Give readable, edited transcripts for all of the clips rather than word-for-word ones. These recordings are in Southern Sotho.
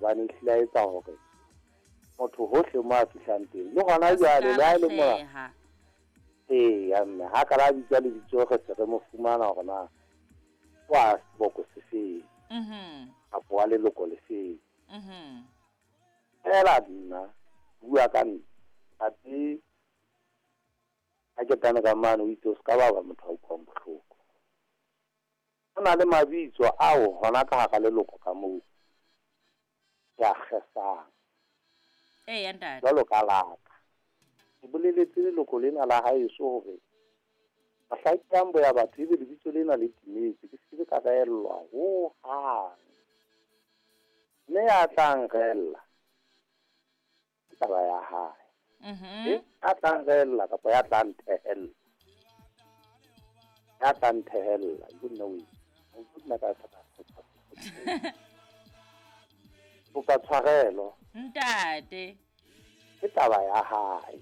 Hobane ehlile a etsa hore motho hohle mo a fihlang teng. Le hona jwale le ha e le mona. Eya mme ha ka la bitsa lebitso re se re mo fumana hore na wa seboko se feng. Kapa wa leloko le feng. Fela nna bua ka nna. Athe ha ke tane ka mane o itse o ska ba ba motho a utlwang bohloko. Ho na le mabitso ao hona ka hara leloko ka moo ke a kgesang. Eya ntate. Jwalo ka laka. Ke boleletse leloko lena la haeso hore mohla ke yang boya batho ebe lebitso lena le timetse, ke se ke ka reellwa ho hang. Mme ya tla nreella ke taba ya hae. Ya tla nreella kapa ya tla nthehella. Ya tla nthehella, ke nna o nna ka kopa tshwarelo. Ntate. Ke taba ya hae.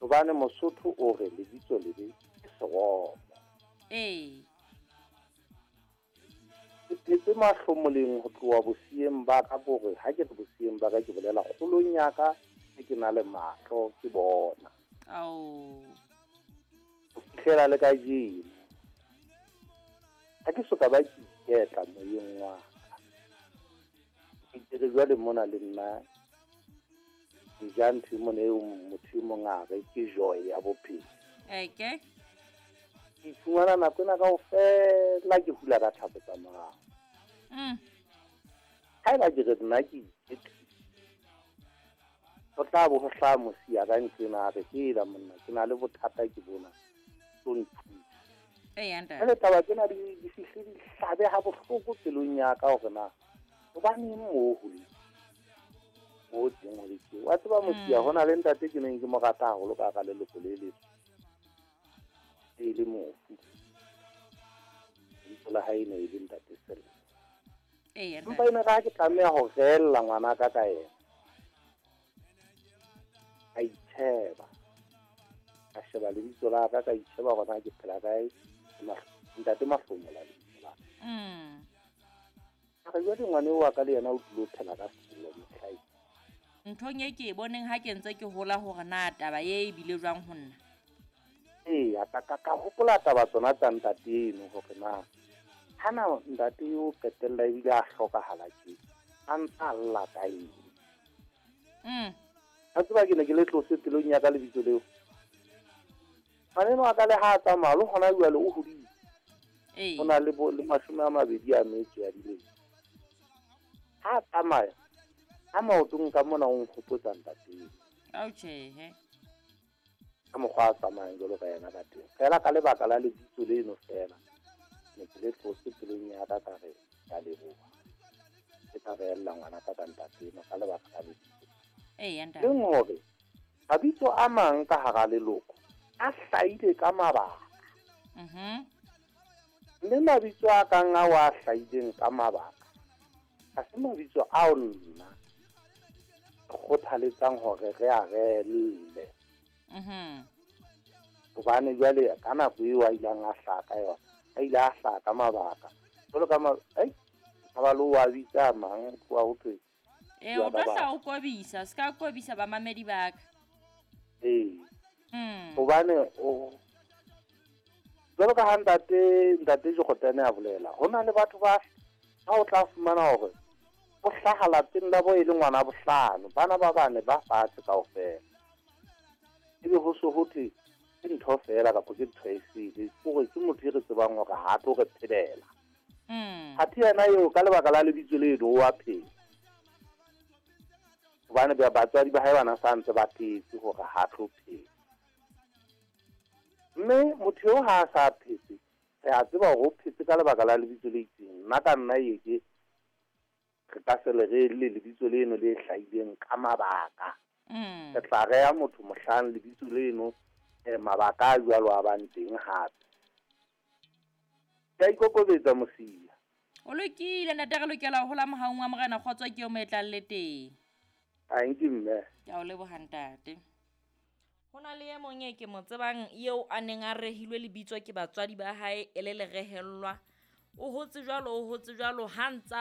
Hobane Mosotho o re lebitso lebe ke seromo. Ee. Ke phetse mahlomoleng ho tloha boseyeng ba ka bore ha ke re boseyeng ba ka ke bolela kgolong ya ka ke na le mahlo ke bona. Ao. Ho fihlela le kajeno. Ha ke soka ba ke iketla moyeng wa ka. Ke re jwale mona le nna ke ja ntho e mona eo motho e mong a re ke joy ya bophelo. Eke. Ke iphumana nako ena kaofela ke hula ka thapo tsa morao. Haeba ke re nna ke iketlile, ho tla bo ho hlaha mosia ka nqena a re hela monna ke na le bothata ke bona tlo nthusa. Eya ntate. Jwale taba tsena di fihle di hlabe ha bohloko pelong ya ka hore na hobaneng moo ho le mo teng ho le tje. Wa tseba mosia ho na le ntate ke neng ke mo rata haholo ka hara leloko le leso. E le mofu. Lebitso la hae ne e le ntate Sello. Eya ntate. Empa ene ka ke tlameha ho reella ngwana ka ka yena. Ka itsheba. Ka sheba lebitso la ka, ka itsheba hore na ke phela kae. Ntate Mahlomola lebitso la ka. Ka re jwale ngwana eo wa ka le yena o tlilo phela ka sello mohlae. Nthong e ke e boneng ha ke ntse ke hola hore na taba e bile jwang ho nna. Eya, ka hopola taba tsona tsa ntate eno hore na hana ntate eo qetella ebile a hlokahala tje, a ntsa lla ka eng. A tseba ke ne ke le tlose pelong ya ka lebitso leo. Ngwaneno wa ka le ha a tsamaya le hona jwale o hodile. O na le le 20 ya dilemo. Ha a tsamaya, ha maotong ka mona o nkgopotsa ntate eno. Ao tjhehe. Ka mokgwa a tsamayang jwalo ka yena ka teng. Fela ka lebaka la lebitso leno fela, ne ke le tlose pelong ya ka ka re ke a leboha. Ke tla reella ngwana ka ka ntate eno ka lebaka la lebitso. Eya ntate. Leng hore mabitso a mang ka hara leloko a hlahile ka mabaka. Mme mabitso a kang ao a hlahileng ka mabaka ha se mabitso ao nna kgothaletsang hore re a reelle. Hobane jwale ka nako eo a ileng a hlaha ka yona, a ile a hlaha ka mabaka. Jwalo ka ba le wa bitsa mang tloha ho thwe. O tlo hla o kobisa, se ka kobisa bamamedi ba ka. Ee. Hobane o jwalo ka ha ntate Jokotane a bolela, ho na le batho ba ha o tla fumana hore o hlaha lapeng la bo e le ngwana bohlano, bana ba bane ba fatshe kaofela. Ebe ho so ho thwe ke ntho fela kapa ke ntho e sele, hore ke motho e re tsebang hore ha tlo re phelela. Athe yena eo ka lebaka la lebitso leno o a phela. Hobane batswadi ba hae bana sa ntse ba phetse hore ha tlo phela. Mme motho eo ha a sa phetse, re a tseba hore o phetse ka lebaka la lebitso le itseng. Nna ka nna e ke re ka se le re le lebitso leno le hlahileng ka mabaka. Re tla reha motho mohlang lebitso leno mabaka a jwalo a bang teng hape. Ke a ikokobetsa mosia. O lokile ntate, re lokela ho hola mohaung wa Morena, kgotso ke eo mo e tlang le teng. Thank you mme. Ke a o leboha ntate. Ho na le e mong e ke mo tsebang eo a neng a rehilwe lebitso ke batswadi ba hae e le lerehellwa. O hotse jwalo, o hotse jwalo ha ntsa